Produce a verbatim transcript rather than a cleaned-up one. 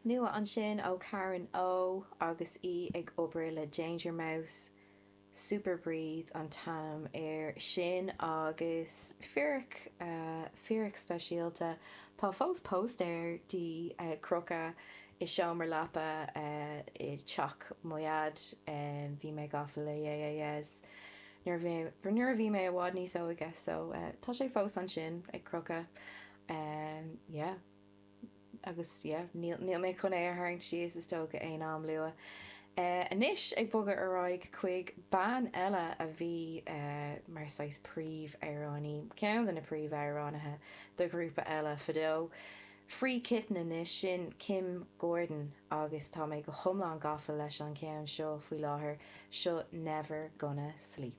Nua ansin ó Karen O agus í ag obair le Danger Mouse. Super Breathe an t-ainm air sin agus fíric fíric speisialta. Tá fós póstaer di ag crochadh i seomra leapa i dteach mo dhaid. Bhí mé gafa le Yeah Yeah Yeahs nuair nuair a bhí mé i bhfad níos óige so tá sé fós ansin ag crochadh. Yeah. Agus yeah, níl níl mé chun é a tharraingt síos is dócha aon am luath. Anois ag bogadh ar aghaidh chuig bean eile a bhí mar saghas príomhamhránaí, ceann de na príomhamhránaithe do ghrúpa eile fadó. Free Kitten anois, sin Kim Gordon agus tá mé go hiomlán gafa leis an cheann seo faoi láthair, seo Never Gonna Sleep.